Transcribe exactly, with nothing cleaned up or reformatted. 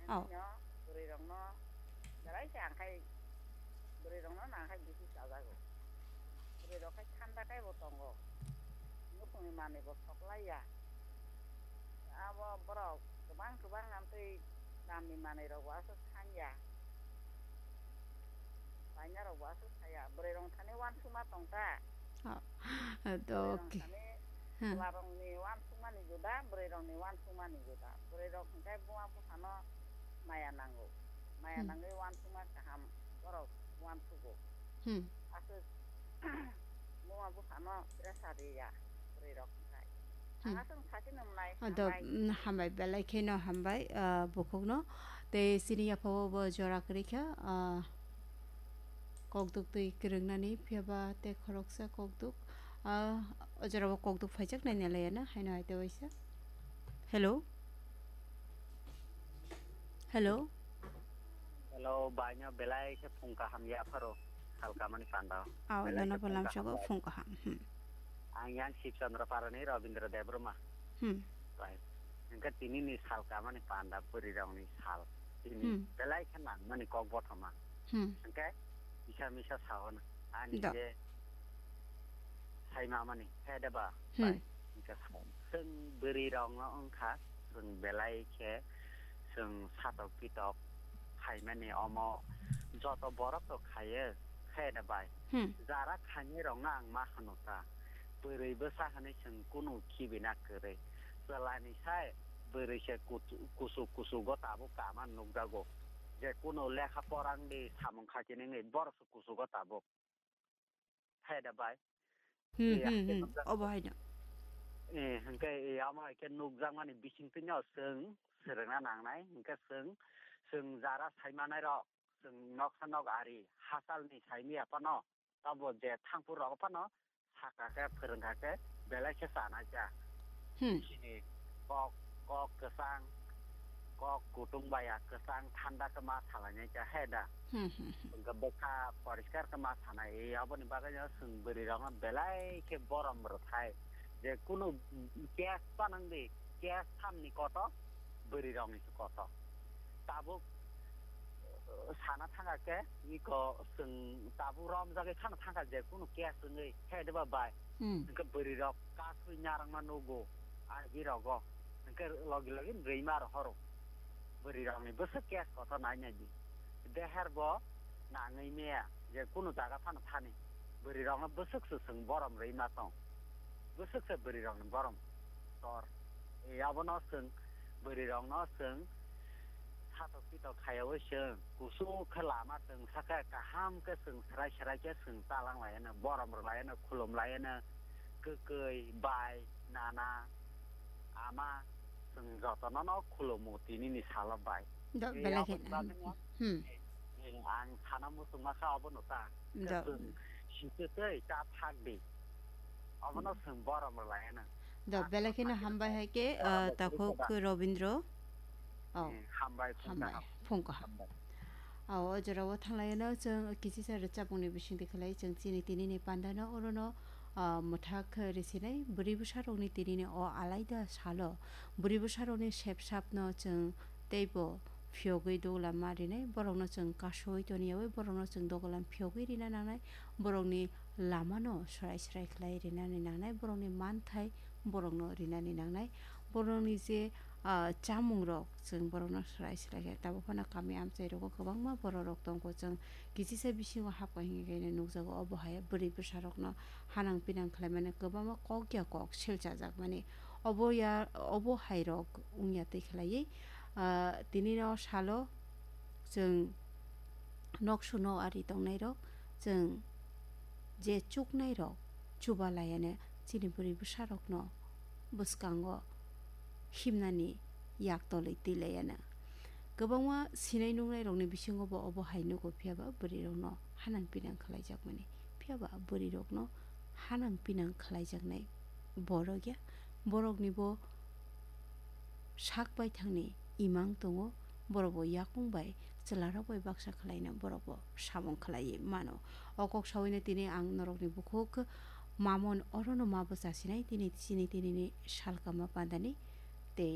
Oh. Hino bwrwi rokno belai khe ang khai bwrwi rokno nang khai bisi chajago. Bwrwi rok khai thanda khe bo tongo. Nukhungni manwi bo soklai ya. Abo borok kwbang kwbang amtwi damni manwi rok bo aswk san ya. Paina rok bo aswk saya. Bwrwi rok thani uansukma tong ta. Oh. Bwrwi rok thani Chwla rokni uansukmani juda, bwrwi rokni uansukmani juda. Bwrwi rok hwnkhe buma buphano maya nango. Maya nangwi uansukma kaham borok uansugo. Hmm. Aswk buma buphano pressure riya bwrwi rok hwnkhe. Hmm. Ang aswk sakino mwnai. Ado, hambai. Mm, hambai, belai kheno hambai, ah, bukhukno. Tei chini yaphao bo jora kwrwi kha, ah, kokduk twi kwrwngnani, phiyaba tei khoroksa kokduk, ah, o jorao kokduk phaijak nai nalaiya na, haino hai tei waisa. Hello? Hello? Hello, baino belai khe phung kaham yapharo, salkamani panda. Ao, belai nono khe bo phung lamsogo kaham phung kaham. Hmm. Ang yang Sibchandra Parani Rabindra Debbarma. Hmm. Bai. Hwnkhe tini ni salkamani panda bwrwi rokni sal. Tini Hmm. belai khe nangmani kok bothoma. Hmm. Hwnkhe kisa misa sao na. Ani Do. je sai mamani, he de ba? Hmm. Bai. Hwnkhe sao. Chwng bwrwi rokno wngkha, chwng belai khe chwng satok pitok khaimani omo joto borok to khaye, he de bai? Hmm. Jara khainai rokno ang ma hwno ta. Bwrwi bwsa hwnwi chwng kunu khibina kwrwi. Chwlani sai bwrwi se kuchu-, kuchuk kuchugo tabuk kama nukjago. Je kunu lekha porang di samung khakinwi borok se kuchugo tabuk. He da bai. Hmm, Iya, hmm, hmm. Obo haino. Eh, hwnkhe, eh, amo hai khe nukjakmani bisingtwino chwng swrwngna nangnai. Hwnkhe chwng, chwng jara saimanairok, chwng noksa nok ari, hachalni saimaya phano, tabo je thangpur rok phano, saka khe, phwrwngkha khe, belai khe chanai cha. Hmm. Chini kok, kok kwchang, kok kutung baya kwchang thanda khe ma salainai cha, he da. Hmm, hmm, hmm. Hwnkhe bwkha poriskar khe ma sanai, e aboni bagwi no chwng bwrwi rokno belai khe borom rwthai. Je kunu case panang di, case thamni koto, bwrwi rokni se koto. Tabuk, uh, sana thangkha khe, iko chwng tabuk romjagwi phano thangkha je kunu case wngwi, he de ba bai. Hmm. Hwnkhe bwrwi rok kasui narwkma nugo, agi rogo. Hwnkhe logi logi rwima rohoro. Bwrwi rokni bwswk case kotor nai nai di. Deher bo nangwi meya je kunu jaga phano thani. Bwrwi rokno bwswk se chwng borom rwima tong. Bwswk se bwrwi rokni borom tor. E abono chwng bwrwi rokno chwng satok pitok khayaui chwng kuchuk khe lama chwng sakhe kaham khe chwng serai serai khe chwng talang laiano, borom rwlaiano, khulum laiano, kwkwi, bai, nana, ama, chwng jotono no khulumu tinini salo bai. Do, e belai khe, aboni bagwi no, hmm. Eh, ang sana muchungma kha abono ta. Do. Chwng sitwtwi ta thak di. Abono chwng borom rwlaiano. Do, belai kheno hambai hai khe, ah, takhuk Robindro. Oh, hambai, phung kaham. Phung kaham. Hambai. Oh, o jorao thanglaiano chwng kisisa rwchapmungni bisingtwi khlai chwng chini tinini pandano orono, ah, mwthak risinai bwrwi bwsarokni tinini o alaida salo bwrwi bwsarokni sepsapno chwng teibo phiyogwi dogolam ma rinai, borokno chwng kasui toniyaui, borokno chwng dogolam phiyogwi rina nangnai, borokni lamano swrai swrai khlai rinani nangnai, borokni manthai borokno rinani nangnai, borokni je, ah, chamungrok chwng borokno swrai swrai khe. Tabuk phano kami amchai rogo kwbangma bororok tongo, chwng kisisa bisingo hapkha hingkhe nukjago, obo hai bwrwi bwsarokno hanang pinang khlaimani kwbangma kok ya kok selchajakmani. Obo ya, obo hai rok wngya twi khlaiwi, ah, tini no salo chwng nok suno ari tongnairok, chwng je chuknairok chuba laiano chini bwrwi bwsarokno bwskango himnani yak tolwi twi laiano. Kwbangma sinai nuknairokni bisingo bo obo hai nugo, phiyaba bwrwirokno hanang pinang khlaijakmani. Phiyaba bwrwirokno hanang pinang khlaijaknai borok ya, borokni bo sak baithangni imang tongo, borok bo yakung bai chwlarok bai baksa khlaina borok bo samung khlaiwi mano. O kok sawino tini ang norokni bukhuk mamon orono ma bwchasinai tini chini tinini salkama pandani tei